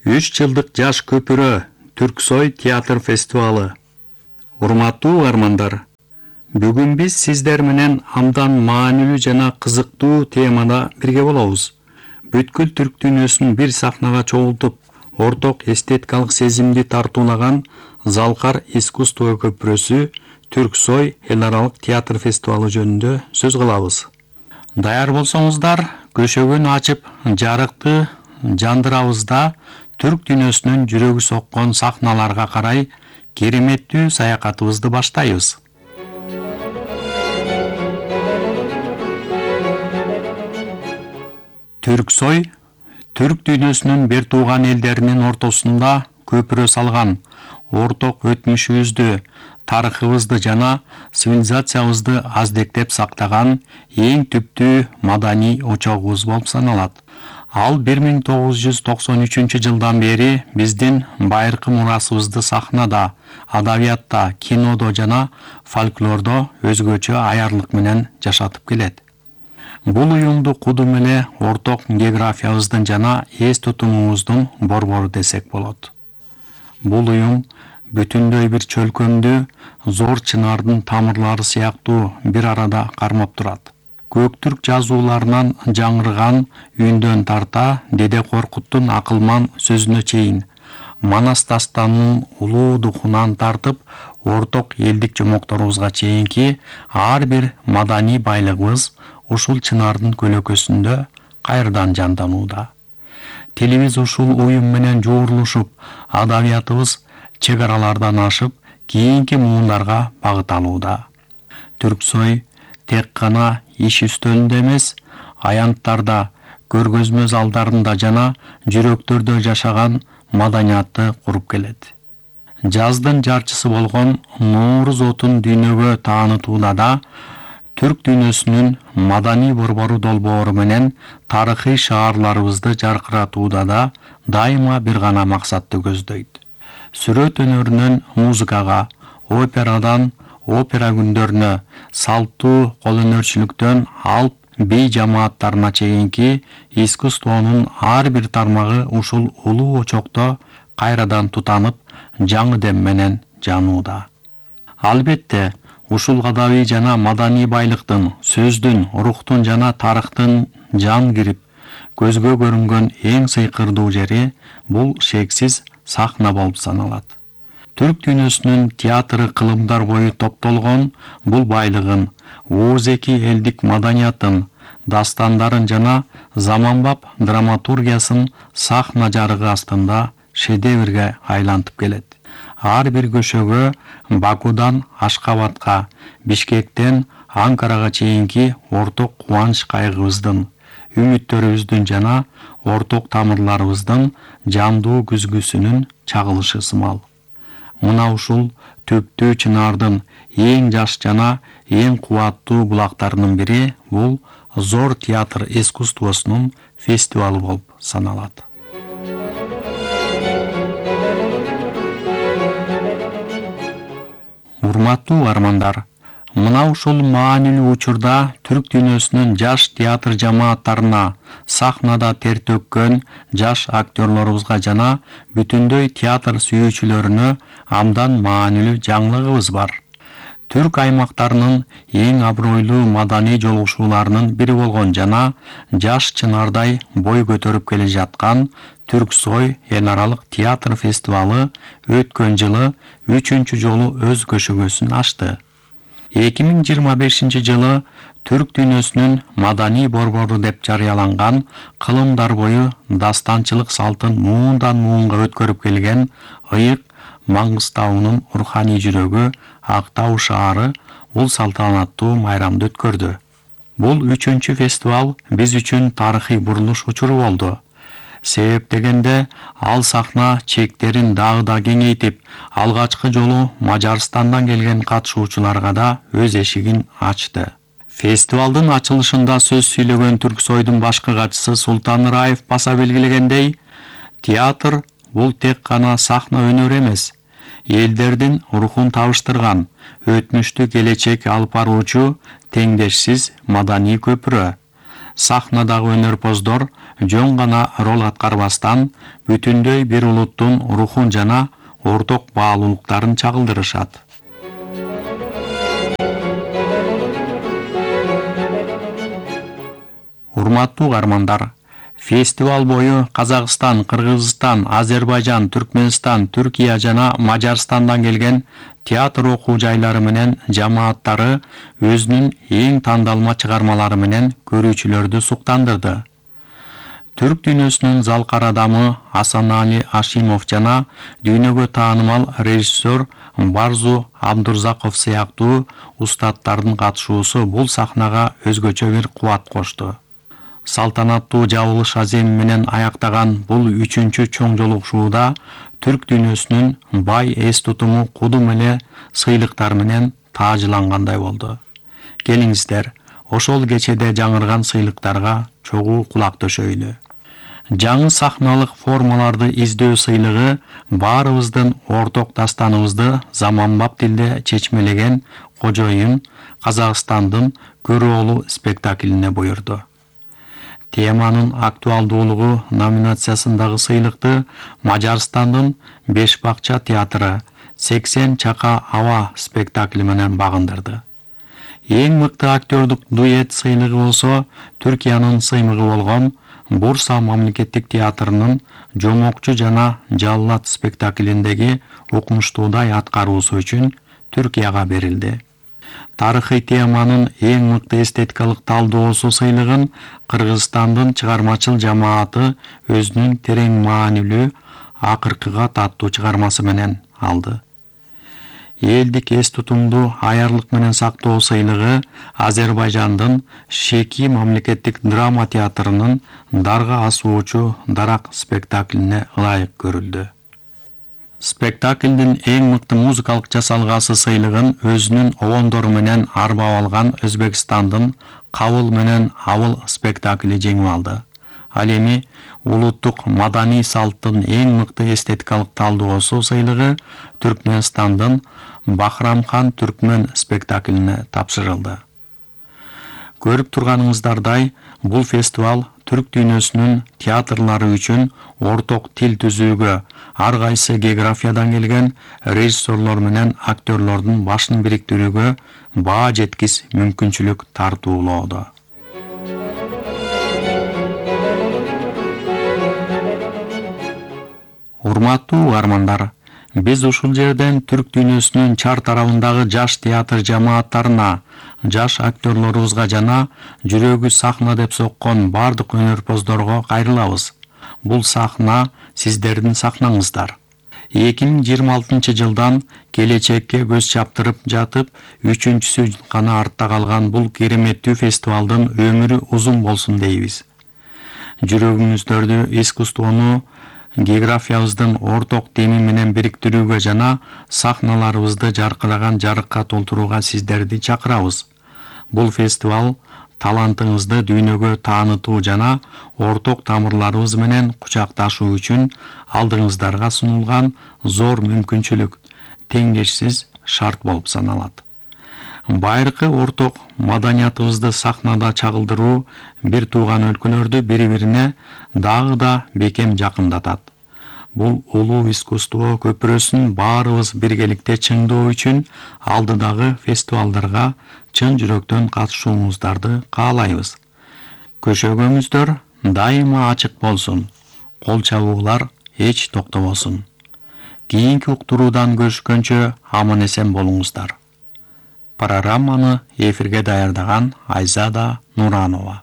3 жылдык жаш көпүрө Түрксой театр фестивалы. Урматтуу угармандар, бүгүн биз сиздер менен абдан маанилүү жана кызыктуу темада бирге болобуз. Бүткүл түрк дүйнөсүн бир сахнага чогултуп, орток эстетикалык сезимди тартуулаган Залкар искусство көпүрөсү Түрксой эл аралык театр фестивалы жөнүндө сөз кылабыз. Даяр болсоңуздар, көшөгөнү ачып, жарыкты жандырабыз да түрк дүйнөсүнүн жүрөгү соккон сахналарга карай кереметтүү саякатыбызды баштайбыз. Түрксой түрк дүйнөсүнүн бир тууган элдеринин ортосунда көпүрө салган, орток өтмүшүбүздү, тарыхыбызды жана цивилизациябызды аздектеп сактаган эң түптүү маданий очогубуз болуп саналат. Ал 1993 жылдан бери биздин байыркы мурасыбызды сахнада, адабиятта, кинодо жана фольклордо өзгөчө аярлык менен жашатып келет. Бул уюмду кудум эле орток географиябыздын жана эс тутумубуздун борбору десек болот. Бул уюм бүтүндөй бир чөлкөмдү зор чынардын тамырлары сыяктуу бир арада кармап турат. Көктүрк жазууларынан жаңырган үндөн тарта Деде Коркуттун акылман сөзүнө чейин, Манас дастанынын улуу духунан тартып, орток элдик жомокторубузга чейинки ар бир маданий байлыгыбыз ушул чынардын көлөкөсүндө кайрадан жанданууда. Тилибиз ушул уюм менен жуурулушуп, адабиятыбыз чек аралардан ашып, кийинки муундарга багыт алууда. Түрксой тек гана иш үстөлүндө эмес, аянттарда, көргөзмө залдарында жана жүрөктөрдө жашаган маданиятты куруп келет. Жаздын жарчысы болгон Нооруз отун дүйнөгө таанытууда да түрк дүйнөсүнүн маданий борбору долбоору менен тарыхый шаарларыбызды жаркыратууда да дайыма бир гана максатты көздөйт. Сүрөт өнөрүнөн музыкага, операдан опера күндөрүнө, салттуу колөнөрчүлүктөн алп бей жамааттарына чейинки искусствонун ар бир тармагы ушул улуу очокто кайрадан тутанып, жаңы дем менен жанууда. Албетте, ушул адабий жана маданий байлыктын, сөздүн, рухтун жана тарыхтын жан кирип, көзгө көрүнгөн эң сыйкырдуу жери бул шексиз сахна болуп саналат. Түрк дүйнөсүнүн театры кылымдар бою топтолгон бул байлыгын, ооз-эки элдик маданиятын, дастандарын жана заманбап драматургиясын сахна жарыгы астында шедеврге айлантып келет. Ар бир көшөгө Бакудан Ашкабадка, Бишкектен Анкарага чейинки орток кубанч кайгыбыздын, үмүттөрүбүздүн жана орток тамырларыбыздын жандуу күзгүсүнүн чагылышы сымал. Мына ушул түптүү чынардын эң жаш жана эң кубаттуу булактарынын бири бул Зор театр искусствосунун фестивалы болуп саналат. Урматтуу армандар, мына ушул маанилүү учурда түрк дүйнөсүнүн жаш театр жамааттарына, сахнада тер төккөн жаш актерлорубузга жана бүтүндөй театр сүйүүчүлөрүнө абдан маанилүү жаңылыгыбыз бар. Түрк аймактарынын эң абройлуу маданий жолугушууларынын бири болгон жана жаш чынардай бой көтөрүп келе жаткан Түрксой эл аралык театр фестивалы өткөн жылы 3-чү жолу өз көшөгөсүн ачты. 2025 жылы түрк дүйнөсүнүн маданий борбору деп жарыяланган кылымдар бою дастанчылык салтын муундан муунга өткөрүп келген ыйык Маңгыстаунун руханий жүрөгү Актау шаары бул салтанаттуу майрамды өткөрдү. Бул 3-чү фестивал биз үчүн тарыхый бурулуш учуру болду. Себеп дегенде ал сахна чектерин дагы да кеңейтип, алгачкы жолу Мажарстандан келген катышуучуларга да өз эшигин ачты. Фестивалдын ачылышында сөз сүйлөгөн Түрксойдун башкы катчысы Султан Ыраев баса белгилегендей, театр бул тек гана сахна өнөрү эмес, элдердин рухун табыштырган, өтмүштү келечек алып баруучу теңдешсиз маданий көпүрө. Сахнадагы өнөрпоздор жөн гана роль аткарбастан бүтүндөй бир улуттун рухун жана орток баалуулуктарын чагылдырышат. Урматтуу угармандар, фестиваль бою Казакстан, Кыргызстан, Азербайжан, Түркмөнстан, Түркия жана Мажарстандан келген театр окуу жайлары менен жамааттары өзүнүн эң тандалма чыгармалары менен көрүүчүлөрдү суктандырды. Түрк дүйнөсүнүн залкар адамы Асанали Ашимов жана дүйнөгө таанымал режиссер Барзу Абдурзаков сыяктуу устаттардын катышуусу бул сахнага өзгөчө бир кубат кошту. Салтанаттуу жабылыш аземи менен аяктаган бул 3-чү чоң жолугушууда түрк дүйнөсүнүн бай эс тутуму кудум эле сыйлыктар менен таажлангандай болду. Келиңиздер, ошол кечеде жаңырган сыйлыктарга чогуу кулак төшөйлү. Жаңы сахналык формаларды издөө сыйлыгы баарыбыздын орток дастаныбызды заманбап тилде чечмелеген Кожоюн Казакстандын Көрөөлүү спектаклине буйрду. Теманын актуалдуулугу номинациясындагы сыйлыкты Мажарстандын Беш бакча театры 80 чака аба спектакли менен багындырды. Эң мыкты актёрдук дуэт сыйлыгы болсо Түркиянын сыймыгы болгон Бурса мамлекеттик театрынын Жомокчу жана Жаллат спектаклиндеги укмуштуудай аткаруусу үчүн Түркияга берилди. Тарыхый теманын эң мыкты эстетикалык талдоосу сыйлыгын Кыргызстандын чыгармачыл жамааты өзүнүн терең маанилүү акыркыга таттуу чыгармасы менен алды. Элдик эс тутумду аярлык менен сактоо сыйлыгы Азербайжандын Шеки мамлекеттик драма театрынын Дарга асуучу дарак спектаклине ылайык көрүлдү. Спектаклдин эң мыкты музыкалык жасалгасы сыйлыгын өзүнүн обондору менен арбап алган Өзбекстандын Кабыл менен Абыл спектакли жеңип алды. Ал эми улуттук маданий салттын эң мыкты эстетикалык талдоосу сыйлыгы Түркмөнстандын Бахрамхан Түркмөн спектаклине тапшырылды. Көрүп турганыңыздардай, бул фестиваль түрк дүйнөсүнүн театрлары үчүн орток тил түзүүгө, ар кайсы географиядан келген режиссерлор менен актерлордун башын бириктирүүгө баа жеткис мүмкүнчүлүк тартуулоодо. Урматтуу угармандар, биз ушул жерден түрк дүйнөсүнүн чар тарабындагы жаш театр жамааттарына, жаш актерлорубузга жана жүрөгү сахна деп соккон бардык өнөрпоздорго кайрылабыз. Бул сахна сиздердин сахнаңыздар. 2026 жылдан келечекке көз чаптырып жатып, 3-чүсү гана артта калган бул кереметтүү фестивалдын өмүрү узун болсун дейбиз. Жүрөгүңүздөрдү искусствону географиябыздын орток теми менен бириктирүүгө жана сахналарыбызды жаркыраган жарыкка толтурууга сиздерди чакырабыз. Бул фестиваль талантыңызды дүйнөгө таанытуу жана орток тамырларыбыз менен кучакташуу үчүн алдыңыздарга сунулган зор мүмкүнчүлүк, теңдешсиз шарт болуп саналат. Байыркы орток маданиятыбызды сахнада чагылдыруу бир тууган өлкөлөрдү бири-бирине дагы да бекем жакындатат. Бул улуу искусство көпүрөсүн баарыбыз биргеликте чыңдоо үчүн алдыдагы фестивалдарга чын жүрөктөн катышууңуздарды каалайбыз. Көшөгөңүздөр дайыма ачык болсун. Кол чабуулар эч токтобосун. Кийинки уктуруудан көрүшкөнчө аман-эсен болуңуздар. Программаны эфирге даярдаган Айзада Нуранова.